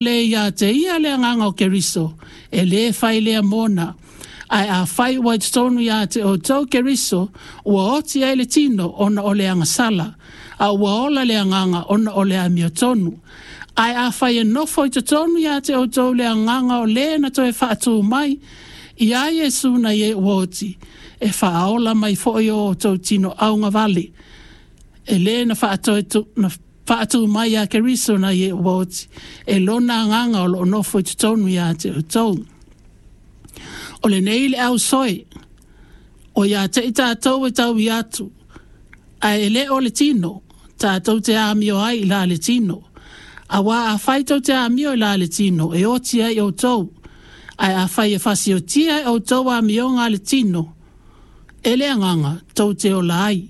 Le ia te ia le agaga o Keriso, e lē fai lea mona. Ae afai ua i totonu iā te outou Keriso, ua oti ai le tino ona o le agasala, a ua ola le agaga ona o le amiotonu. Ae afai e nofo i totonu iā te outou le agaga o lē na toe faatū mai iā Iesu nai e ua oti, e faaola mai foi o outou tino augavale e lē na faatoe na faatū mai iā Keriso nai e ua oti, e lona agaga o loo nofo i totonu iā te outou. O lenei le ausoe, o ia te i tātou e taui atu, ae e le o le tino, tātou te amio ai i la le tino. Auā afai tou te amio i la le tino, e oti ai outou, ae afai e fasiotia e outou amioga a le tino, e le agaga, tou te ola ai.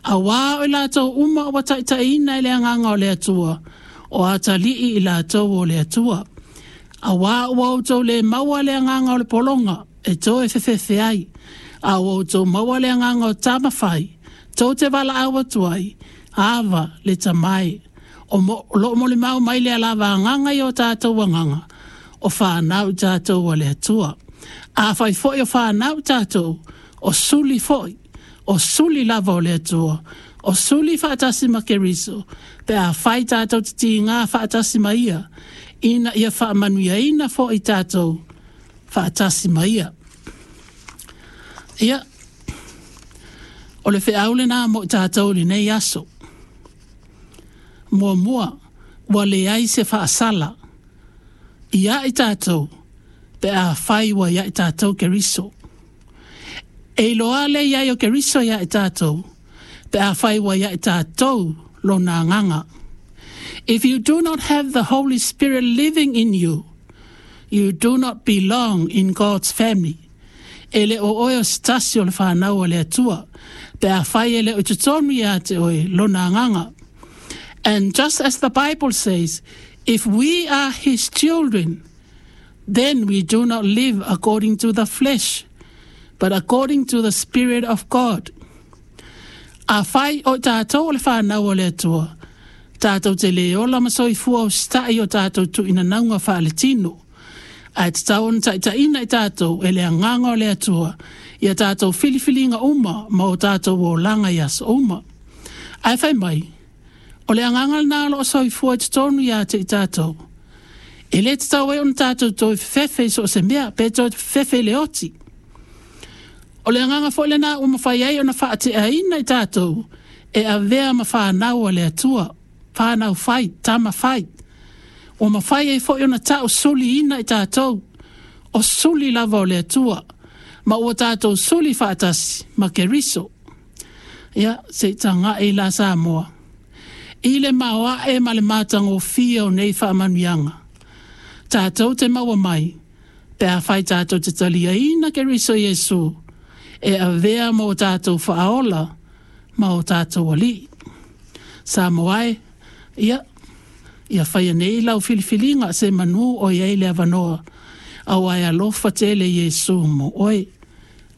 Auā o i latou uma ua taitaiina e le Agaga o le Atua, o atalii i latou o le Atua. Auā ua outou le maua le agaga o le pologa e toe fefefe ai, a ua outou maua le agaga o tama fai, tou te valaau atu ai, Ava, le Tama e. O, mo, o loo molimau mai lea lava agaga i o tātou agaga, o whānau tātou a le Atua. Afai foi o whānau tātou, o suli foi, o suli lava o le Atua, o suli faatasi ma Keriso, pe afai tātou te tigā faatasi ma ia, ina ia faamanuiaina foi tātou faatasi ma ia. Ia, o le feau lenā mo i tātou i lenei aso. Muamua, ua leai se faasala ia i tātou pe afai ua ia i tātou Keriso. E iloa le iai o Keriso ia i tātou pe afai ua ia i tātou lona agaga. If you do not have the Holy Spirit living in you, you do not belong in God's family. E le o oe o se tasi o le whanau a le Atua, pe afai e le o i totonu ia te oe lona agaga. And just as the Bible says, if we are his children, then we do not live according to the flesh, but according to the Spirit of God. Afai o tātou o le whanau o le Atua, tātou te le ola ma soifua usitai o tātou tuinanauga faaletino. Ae tatau ona taitaiina i tātou e le agaga o le Atua i a tātou filifiliga uma ma o tātou olaga i aso uma. Ae fai mai, o le agaga lenā o loo soifua i totonu iā te i tātou. E le tatau ai ona tātou toe fefefe i so o se mea, pe toe fefefe i le oti. O le agaga foi lenā ua mafai ai ona faateaina i tātou e avea ma whanau a le Atua, whanau fai, tama fai. Ua mafai ai foi ona tau suliina i tātou, o suli lava o le Atua, ma ua tātou suli faatasi ma Keriso. Ia, se i taga'i la Samoa. I le maoae ma le matagofie o nei faamanuiaga, tātou te maua mai, pe afai tātou te taliaina Keriso Iesu, e avea ma o tātou Faaola ma o tātou Alii. Samoa e, ia, ia faia nei lau filifiliga semeamanu o i ai le avanoa, auā e alofa tele Iesu mo oe.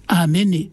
Amene.